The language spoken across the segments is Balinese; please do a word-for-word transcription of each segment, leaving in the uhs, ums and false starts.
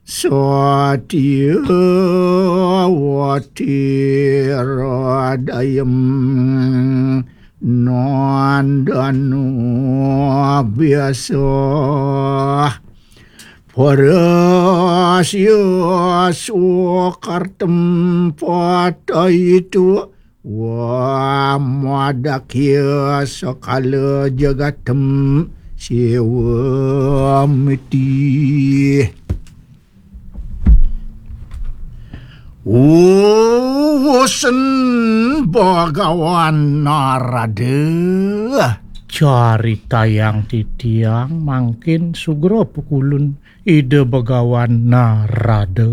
Satya watira dayem nandanu biasa. Parasya sukartem pataitu wa madakya sakala jagatem siwa miti. Uwusen Bagawan Narada. Caritayang titiang mangkin sugra pukulun Ida Bagawan Narada.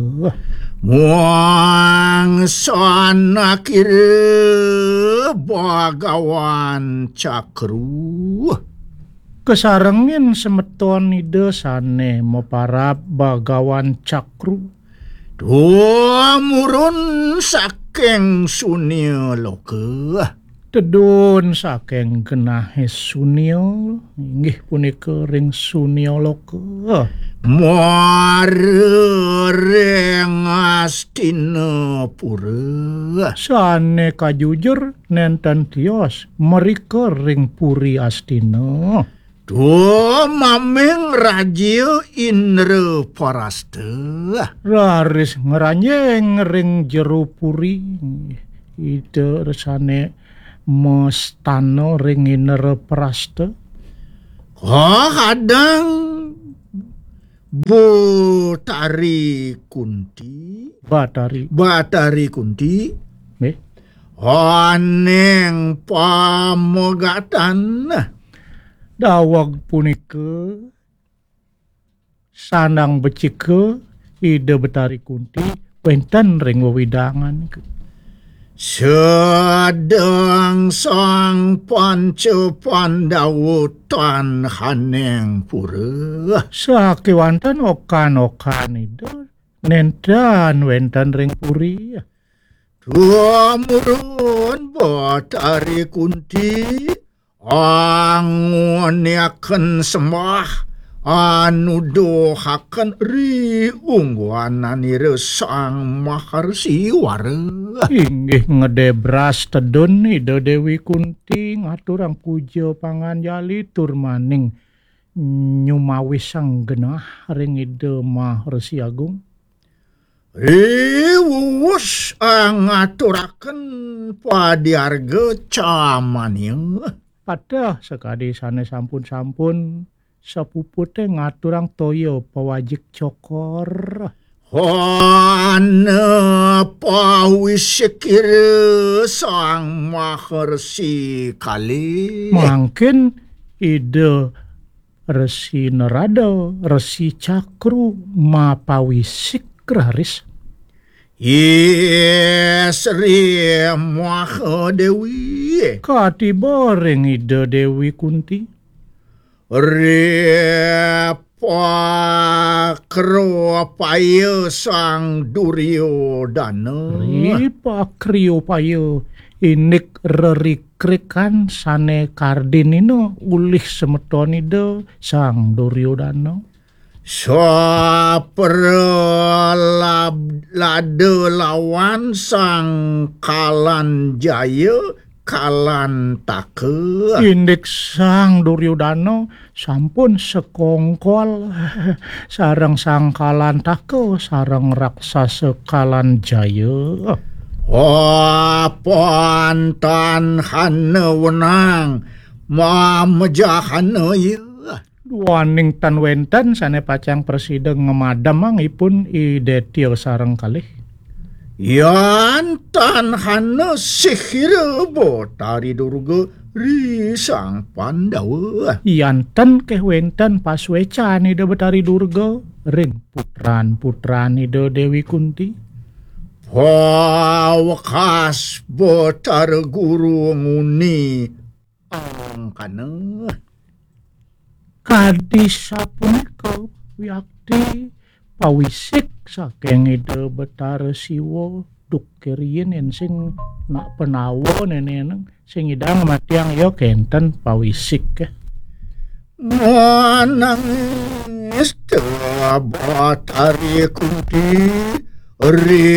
Muang sanakira Bagawan Cakru. Kasarengin semeton Ida sane maparab Bagawan Cakru. Tumurun saking sunia loka. Tedun saking genahe sunia, inggih punika ring sunia loka. Mara ring Astinapura. Sane kajujur nenten tios mrika ring Puri Astina. Tumaming raja Indraparasta. Raris ngranjing ring jero puri. Ida resane mastana ring Indraparasta. Kahadang Batari Kunti. Batari. Batari Kunti. Nggih. Aning pamegatan. Daweg punika sandang becika Ida Betari Kunti wenten ring wewidangan. Sedeng Sang Panca Pandawa tan haning pura. Sakewanten okan-okan Ida nenten wenten ring puri. Tumurun Batari Kunti angoniaken sembah anuduhaken ri ungguananira Sang Maharsi Wara. Inggih ngedebras tedun Ida Dewi Kunti ngaturang puja panganjali tur maning nyumawisang genah ring Ida Maharsi Agung. Riwuwus ngaturaken padiarga camania. Pateh sakadi sane sampun-sampun sapupute ngaturang toya pawajik cokor. Hana pawisikira Sang Maharsi Kalih. Mangkin Ida Resi Narada, Resi Cakru, mapawisik raris. Ih, Sri Mahadewi. Katiba ring Ida Dewi Kunti. Ripakriopaya Sang Duryodana. Ripakriopaya indik rerikrikan sane kardinina ulih semeton Ida Sang Duryodana. Sapralab-, lada lawan Sang Kalanjaya Kalantaka. Indik Sang Duryodana sampun sekongkol sareng Sang Kalantaka sareng raksasa Kalanjaya. Oh, pantan hana wenang mamejahana ya. Duaning tan wenten sane pacang prasida ngamademang ipun I Detya sareng kalih. Yan tan hana sihira Betari Durga ri Sang Pandawa. Yan tan keh wenten pasuecan Ida Betari Durga ring putran-putran Ida Dewi Kunti. Pawekas Betara Guru nguni angkana. Kadi sapunika wiakti pawisik saking Ida Betara Siwa, duk keriin yen sing nak penawa neneneng sing idang matiang ya kenten pawisik. Manang Ista Batari Kunti ri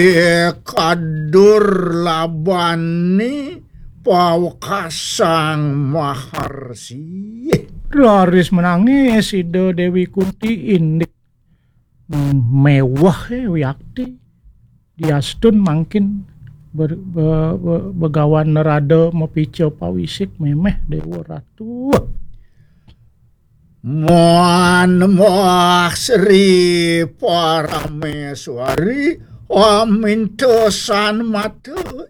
kadur labani pawekasang Maharsi. Raris menangis Ida Dewi Kunti indik mewah, eh, wiakti. Diastun mangkin ber-, be-, be-, Begawan Narada mapica pawisik memeh Dewa Ratu. Muan Mbah Sri Parameswari amintesan mata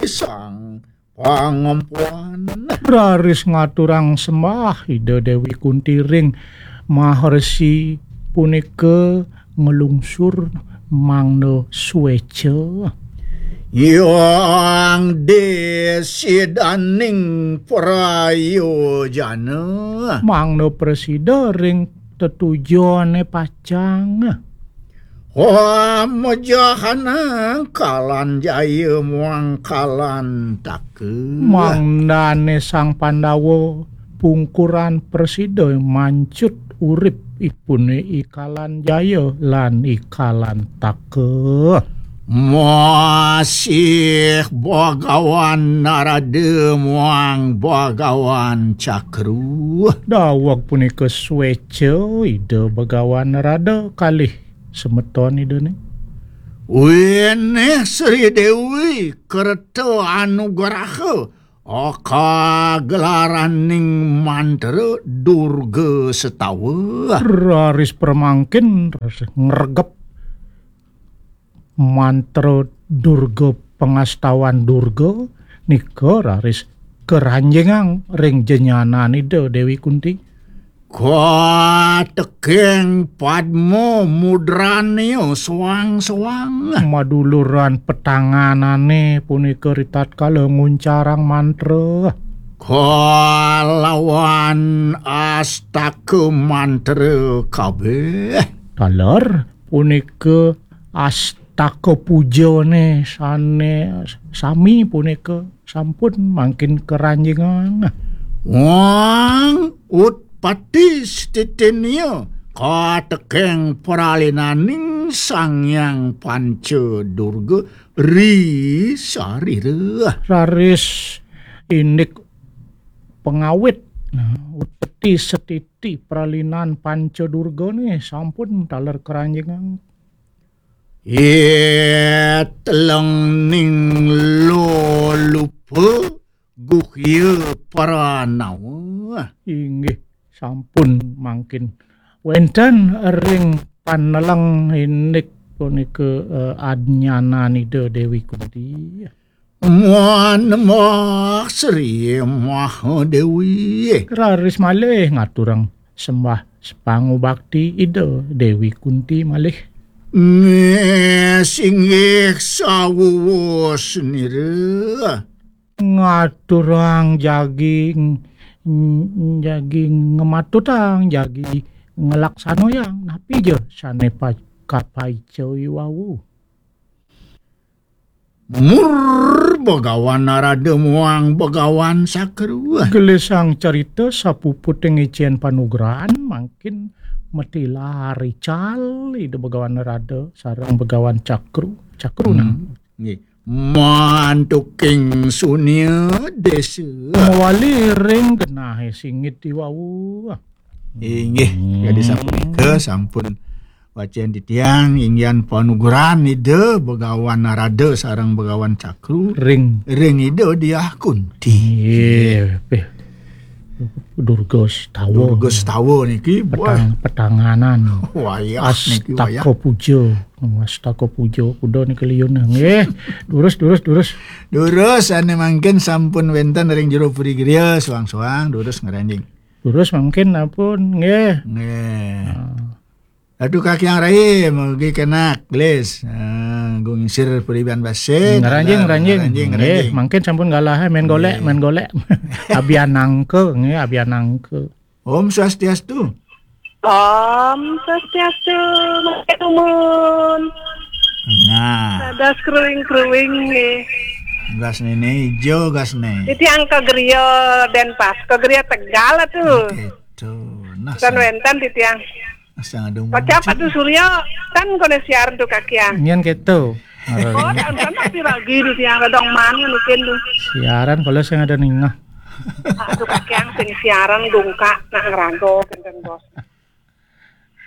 isang pangempuan. Raris ngaturang sembah Ida Dewi Kunti ring Maharsi punika ngelungsur mangda sueca. Yang desidaning prayojana. Mangda prasida ring tetujone pacang. Wah, mejahanang Kalan Jaya muang Kalan Taka. Mangdane Sang Pandawa pungkuran prasida mancut urip ipune I Kalan Jaya lan I Kalan Taka. Masih Bagawan Narada muang Bagawan Cakru. Daweg punika sweca Ida Bagawan Narada kalih semeton Idane. Winih Sri Dewi kerta anugraha, aka gelaraning mantra Durga Setawa. Raris pramangkin, raris ngregep mantra Durga, pangastawan Durga nika raris karanjingang ring jenyanan Ida Dewi Kunti. Katekeng padma mudranya suang-suang. Maduluran petanganane punika ritatkala nguncarang mantra. Kalawan astaka mantra kabeh. Taler punika astaka pujane sane sami punika sampun mangkin karanjingang. Wang utpati stitinya katekeng pralinaning Sang Hyang Panca Durga ri sarira. Raris indik pangawit, nah, utpati setiti pralinan Panca Durgane sampun taler karanjingang. Itelengning lolupa guhya pranawa. Inggih, sampun mangkin wenten ring paneleng indik punika, eh, adnyanan Ida Dewi Kunti. Muan Mbah Sri Mahadewi. Raris malih ngaturang sembah sepangubakti Ida Dewi Kunti malih. Nggih, singgih sawuwus nira. Ngaturang jagi, jagi ngematutang, jagi ngelaksanayang. Napi ja sane pa-, kapaica iwau? Mur Begawan Narada muang Begawan Sakru. Gelisang carita sapuputing icen panugrahan mangkin matilar ical Ida Begawan Narada sareng Begawan Cakru. Cakru nah. Hmm. Nggih. Mantuking sunia desa. Mawali ring genahe singit iwau. Inggih, hmm, kadi sapunika sampun wacen titiang inggihan panugrahan Ida Begawan Narada sareng Begawan Cakru ring, ring Ida Diah Kunti. Nggih, pih. Durga Setawa. Durga Setawa niki, wah. Petang-, petanganan. Wayah niki, wayah. Astaka puja. Astaka puja kuda niki liun. Nggih. Durus, durus, durus. Durus ane mangkin sampun wenten ring jero puri griya, suang-suang durus ngranjing. Durus mangkin ampun, nggih. Nggih. Ah. Aduh, Kakiang Rai, mugi kenak, gelis. Ah, gung sir puriban basik. Ngranjing, ngranjing. Ngranjing, nggih, ngranjing. Mangkin sampun galah, eh, main golek, nggih, main golek. Abian nangka, nggih, abian nangka. Om Swastiastu. Om Swastiastu, Mak Tumun. Nah. Dados kruing-kruing nggih. Gas nene ijo, gas ne. Titiang ke griya Denpasar, ke griya Tegal tuh. Gitu. Nah, wenten titiang. Asal ada. Kocap muncul. Atuh Surya, kan koné siaran tuh kakiang. Nyén kéto. Oh, dan kan tapi lagi di tiang redong mana mungkin tuh. Siaran kalau saya ada ningah. Aduh kakiang sing siaran dongkak nak ngerago kénten bos.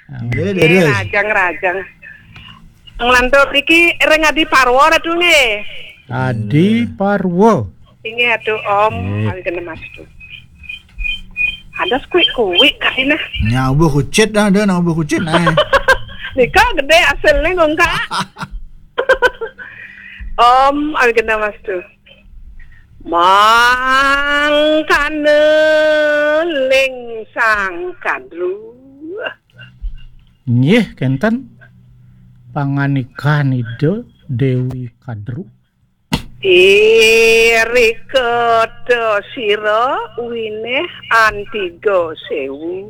Nggih, Nggih, leres. Rajang-rajang. Nglantur iki ring Adi Parwa ratu nggih. Adi Parwa. Inggih atuh Om, Nggih. Awi kena Mas tuh. Ada kuik-kuik kali nah. Nyabuh kucit dah, ada nyabuh kucit nah. Nika gedé hasilné kok enggak. Om, awi kena Mas tuh. Mangkana ling sang kadru. Nggih, kénten pangandikan Ida Déwi Kadru. Irika ta sira winéh antiga séwu.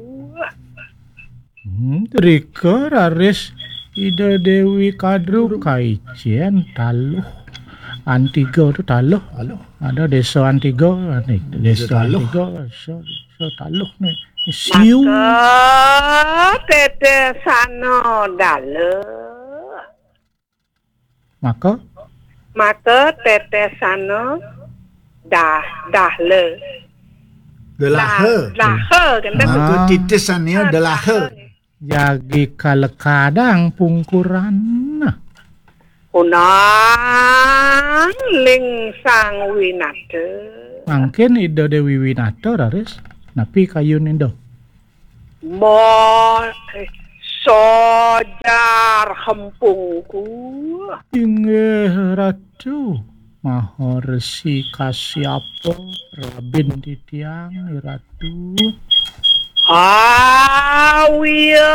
Hmm, rika raris Ida Déwi Kadru kaicén taluh. Antiga tu taluh. Taluh. Ada désa Antiga, désa Taluh. Antiga, désa, désa taluh né. Siu. Maka tetesana dala. Maka? Maka tetesana dah, dahla. Delaha. Dah, daha, kénten. Ah. Maka tetesana delaha. Jagi kalekadang pungkuran. Unang ling sang winata. Mangkin Ida Déwi Winata raris. Napi kayun Ida? Mo, eh, sojar hempungku. Inggih Ratu, Maha Resi Kasyapa, rabin titiang, Ratu. Awia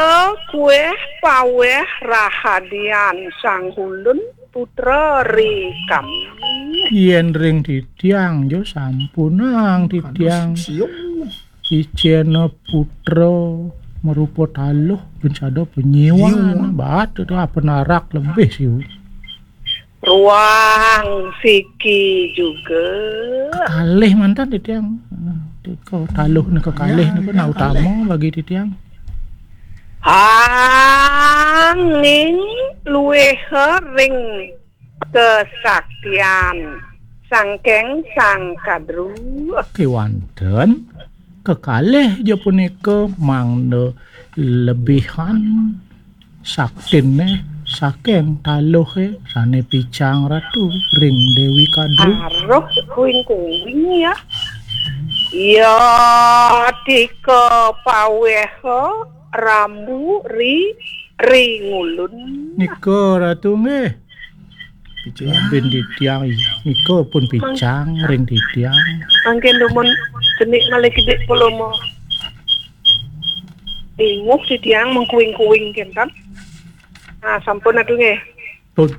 kuéh pawéh rahadian sang hulun putra ri kami. Yén ring titiang jo sampunang titiang. Aduh, siung. Icéna putra marupa taluh, ben sada penyiwan. Penyiwan. Bat, itu apa narak lebih siu. Ruang siki juga. Kekalih mantan titiang. Tika taluh ni kekalih ni pun utama bagi titiang. Anging luwih ring kesaktian sangkeng sang kadru. Kéwanten kekalih ja punika mangda lebihan saktiné saking taluhé sané picang Ratu ring Déwi Kadru. Aruh kuing-kuing ya. Ya tika paweha rambu ri ri ngulun. Nika Ratu nggih. Picang. Bin titiang nika pun picang ring titiang. Mangkin dumun cenik malih kidik polomo. Inguh titiang mengkuing-kuing kénten. Nah, sampun atuh nggih. Pun.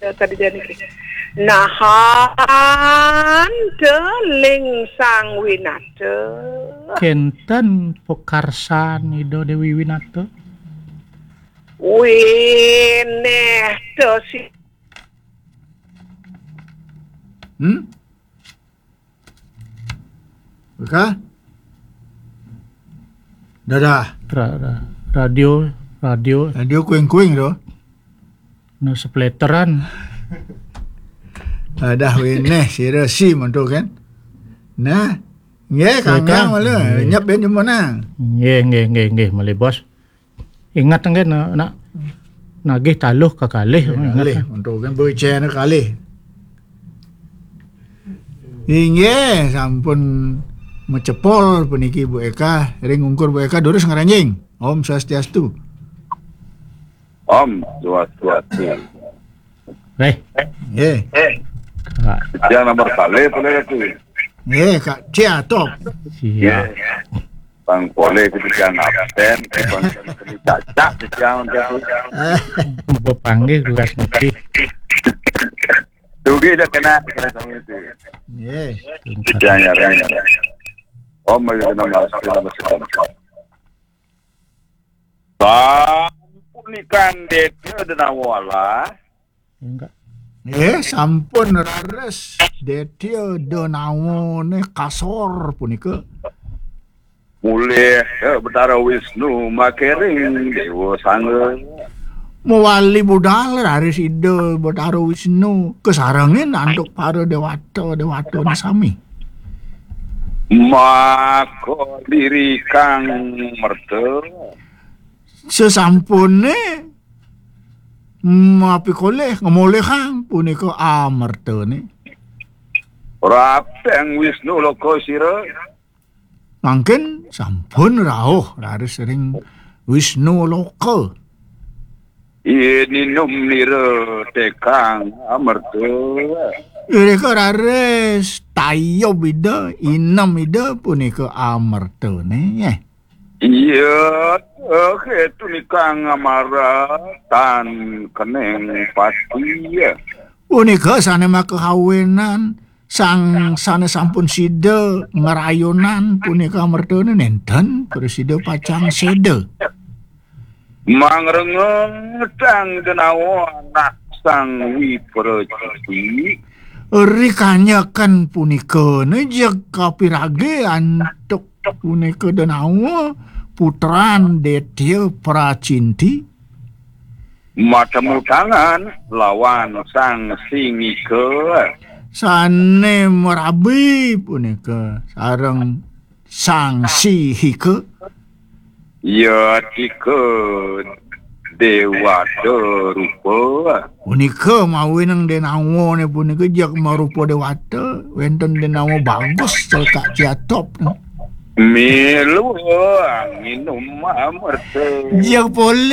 Ya, tadi jan iki. Nahan deling sang winata. Kénten pekarsan Ida Déwi Winata. Winéh tesi. Hmm? Beka? Dadah. Ra-, ra-, radio, radio. Radio kuing-kuing tu. No sepleteran. Dadah winéh sira si monto kan. Nah, nggih kangkang malu. Nggih. Nyep ben jumenang. Nggih, nggih, nggih, nggih, malih bos. Ingat nggih nak, nak nagih taluh kekalih. Nggih, ingat kalih. Monto kan bocah nak kalih. Inggih, sampun macepol puniki Bu Eka, ring ungkur Bu Eka durus ngranjing. Om Swastiastu. Om Swastiastu. Wéh. Nggih. Kak. Yang nomor kali boleh tu. Nggih, Kak Cia top. Siap. Bang boleh kita jangan absen, kita cacak di siang tu. Bepanggil tugas nanti. Dugi dah kena, kena sama itu. Nggih. Jangan, jangan. Om lagi kena masuk, kena masuk. Sampunikan Détya Denawala. Enggak. Eh, sampun rares Détya Denawane kasor punika. Mulih Betara Wisnu makering Dewa Sangga. Mawali budal raris Ida Betara Wisnu kasarengin antuk para dewata-dewatane sami. Maka lirikang merta. Sesampune mapikolih ngemolihang punika amertane. Rapeng Wisnu loka sira. Mangkin sampun rauh raris ring Wisnu loka. Ininum nira tekang amerta. Irika raris tayub Ida, inem Ida punika amertane. Iya, eh, ketunikang amara tan keneng pati. Punika sane makahawinan sang sane sampun sida ngrayunan punika mertane nenten prasida pacang seda. Mangrengeng sang denawa anak sang Wipraciti. Rikanyakan punika nejeg kapirage antuk punika denawa putran Detya Pracinti. Matemu tangan lawan sang Singika. Sane merabi punika sareng sang Sihika. Yatika dewata rupa. Punika mawinan denawane punika jeg marupa dewata, wenten denawa bagus cekak ciatop. Milu nginum amerta. Jeg polih